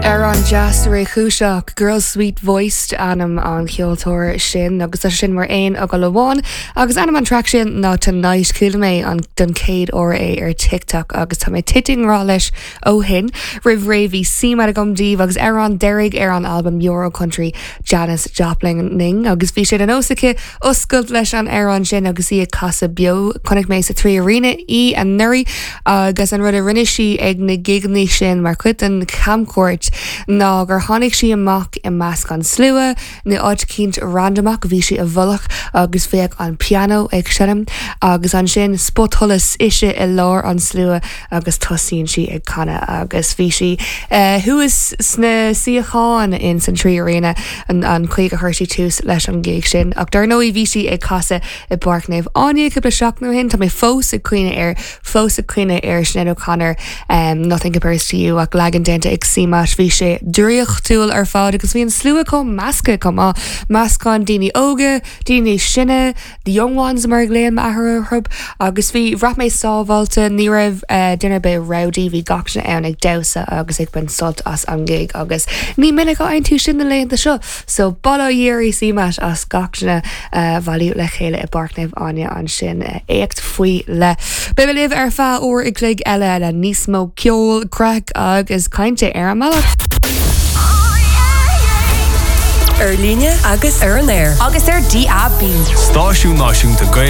Amhrán deas réchúiseach, Girl Sweet Voiced ainm an cheoltóir sin agus tá sin mar aon fhocal amháin agus ainm an traic sin ná Tonight. Chuala mé an don chéad uair é ar TikTok agus tá mé tite i ngrá leis ó shin. Roimh ré bhí CMAT agam daoibh agus amhrán deiridh ar an albam Euro Country Janis Joplin agus bhí sé de nós aici oscailt leis an amhrán sin agus í ag casadh beo. Chonaic mé sa 3Arena í anuraidh agus an rud a rinne sí ag na gigeanna sin mar chuid den chamchuairt ná gur tháinig sí amach i measc an slua, nó áit eicínt randamach, bhí sí i bhfolach agus bheadh an pianó ag seinm agus ansin spotsholas ise i lár an slua agus tosaíonn sí ag canadh agus bhí sí thuas sna suíocháin in san 3Arena an chaoi gur chuir sí tús leis an gig sin. Ach dar ndóigh bhí sí ag casadh i bPáirc Naomh Áine cúpla seachtain ó shin, tá mé fós ag cuimhneamh air, fós ag cuimhneamh ar Sinéad O'Connor Nothing Compares to You ach leagan déanta ag CMAT, bhí sé draíochtúil ar fad agus bhí an slua chomh measctha chomh maith, meascán daoine óga, daoine níos sine, The Young Ones mar a ghlaonn m'athair orthu agus bhí, bhraith mé sábháilte, ní raibh duine ar bith rowdy, bhí gach duine ann ag damhsa agus ag baint sult as an gig agus ní minic a fhaigheann tú sin na laethanta seo so bail ó Dhia ar CMAT as gach duine a bhailiú le chéile i bPáirc Naomh Áine ansin, éacht faoi leith. Beidh mé libh ar feadh uair a chloig eile le níos mó ceoil, craic agus cainte ar an mbealach. Ar líne agus ar an aer. Agus ar DAB. Stáisiún Náisiúnta Gaeilge.